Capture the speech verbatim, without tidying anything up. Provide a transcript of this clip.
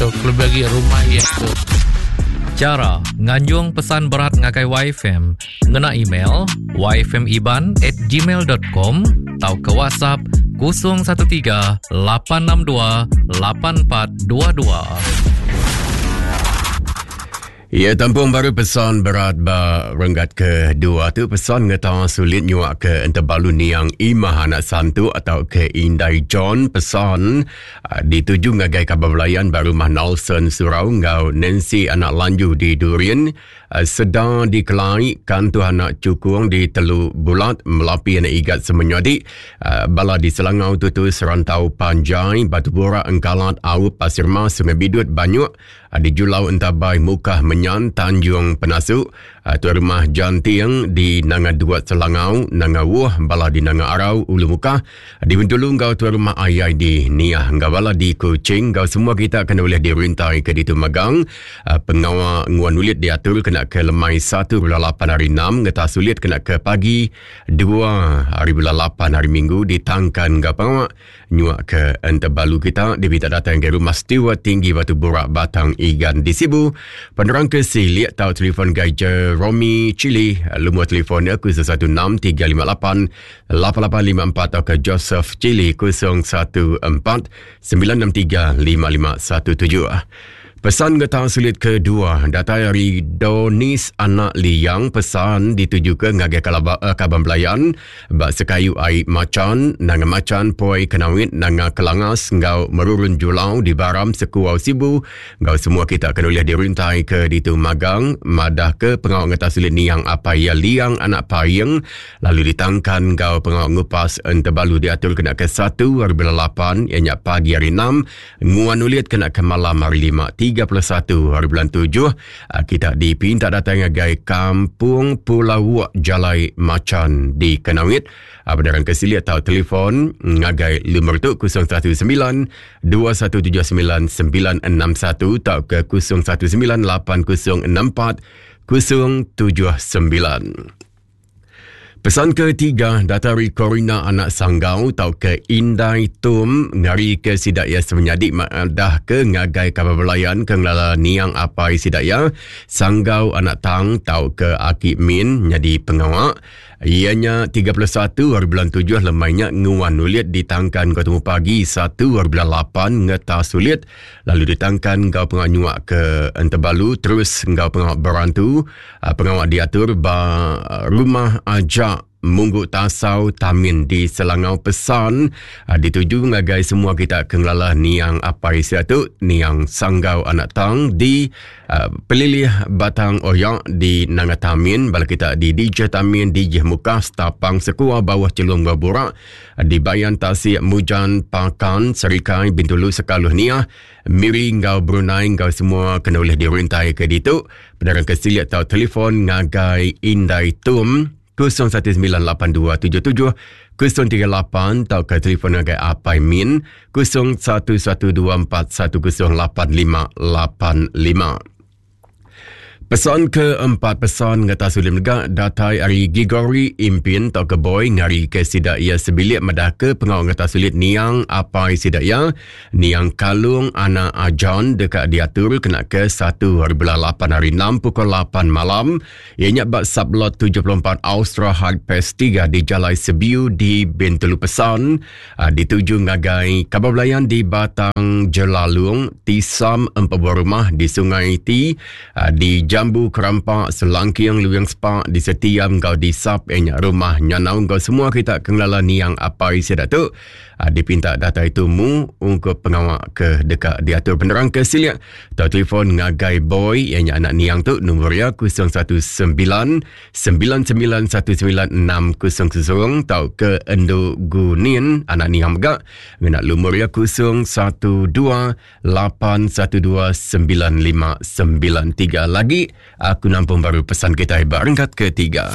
tu kelebih lagi rumah iya tu. Cara nganjung pesan berat ngagai Y F M ngena email y f m iban at gmail dot com atau ke WhatsApp kosong satu tiga lapan enam dua lapan empat dua dua. Ya, tampung baru pesan berat ba renggat kedua tu pesan ngeta sulit nyuak ke entebalu niang Imah anak Santu atau ke Indai John pesan uh, dituju ngagai kabar belayan ba rumah Nelson Surau ngau Nancy anak Lanju di Durian uh, sedang dikelai kantu anak Cukung di Telu Bulat Melapi anak Igat Semenyadi uh, bala di Selangau tutu Serantau Panjai Batu Borak Engkalat Aup Pasir Mas Sungai Bidut Banyuk uh, di Julau Entabai Mukah Menyan Tanjung Penasu uh, tuan rumah Janting di Nanga Duat Selangau Nanga Wuh bala di Nanga Arau Ulu Mukah di Bintulu ngau tuan rumah Ayai di Niah ngau bala di Kuching ngau semua kita kena boleh dirintai ke ditu magang uh, pengawa nguan ulit diatur kena ke lemai satu bulan lapan hari enam ngeta sulit kena ke pagi dua hari bulan lapan hari Minggu ditangkan ngau pengawa nyuak ke entebalu kita dibita datang ke rumah Stewart Tinggi Batu Burak Batang Igan di Sibu. Penerang ke Silik atau telefon gai Jeromy Chili lumur telefonnya kosong satu enam tiga lima lapan lapan lapan lima empat atau ke Joseph Chili kosong satu empat sembilan enam tiga lima lima satu tujuh. Pesan getah sulit kedua datai dari Donis anak Liang pesan ditujukan ngagai kalaba, uh, kaban belayan bak sekayu ai macan nanga macan poi kenawit nanga kelangas ngau merurun julau di Baram Sekuau Sibu ngau semua kita kena boleh dirintai ke ditu magang madah ke pengawak getah sulit niang apa ya Liang anak Payeng lalu ditangkan ngau pengawak ngupas entebalu diatur kena ke satu hari bulan lapan ianya pagi hari enam nguan ulit kena ke malam hari lima tiga puluh satu hari bulan tujuh kita dipinta datang ngagai Kampung Pulau Wak Jalai Macan di Kenawit. Benaran kesili atau telefon ngagai lumur tu kosong satu sembilan dua satu tujuh sembilan sembilan enam satu atau ke kosong satu sembilan lapan kosong enam empat kosong tujuh sembilan. Pesan ketiga datari Corina anak Sanggau atau ke Indai Tum ngari ke sidak ya semenyadik dah ke ngagai kabar belayan ke ngelala niang apai sidak ya Sanggau anak Tang atau ke Aki Min jadi pengawak ianya tiga puluh satu hari bulan tujuh lemainya nguan ulit ditangkan ke temu pagi satu hari bulan lapan ngeta sulit lalu ditangkan kau pengawak nyuak ke Entebalu terus kau pengawak berantu pengawak diatur ba rumah ajak Munggu Tasau Tamin di Selangau. Pesan dituju ngagai semua kita ke ngelala niang apai siatu niang Sanggau anak Tang di uh, Pelilih Batang Oyak di Nanga Tamin bala kita di D J Tamin D J Mukah Stapang Sekua Bawah Celung Baburak di Bayan Tasik Mujan Pakan Serikai Bintulu Sekaluh Niah Miri ngau Brunei ngau semua kena boleh dirintai ke ditu. Penerang kesiliat atau telefon ngagai Indai Tum kosong satu sembilan lapan dua tujuh tujuh kosong tiga lapan atau ke telefon ngagai Apai Min kosong satu satu dua empat satu kosong lapan lima lapan lima. Pesan keempat pesan ngata sulim lega datai ari Gigori Impin atau ke Boy ngari ke sidak ia sebilik madah ke pengawak ngata sulit niang apai sidak ia niang Kalung anak Ajan dekat diatur kena ke satu hari bulan lapan hari enam pukul lapan malam ianya bak sublot tujuh puluh empat Austra Hard Pass tiga di Jalai Sebiu di Bintulu. Pesan dituju ngagai kabar belayan di Batang Jelalung Tisam empat buah rumah di Sungai Ti di Jambu Kerampak Selangking Luyang Spa di Setiam kau di Sap enyak rumah Nyanau kau semua kita kenglala niang apai sidak tu dipinta data itu mu untuk pengawak ke dekat diatur penerang ke siliak atau telefon ngagai Boy enyak anak niang tu nombor ya kosong satu sembilan sembilan sembilan satu sembilan enam kosong kosong atau ke Endo Gunin anak niang megak ngena lumur ya kosong satu dua lapan satu dua sembilan lima sembilan tiga. Lagi aku nampung baru pesan kita barengkat ketiga.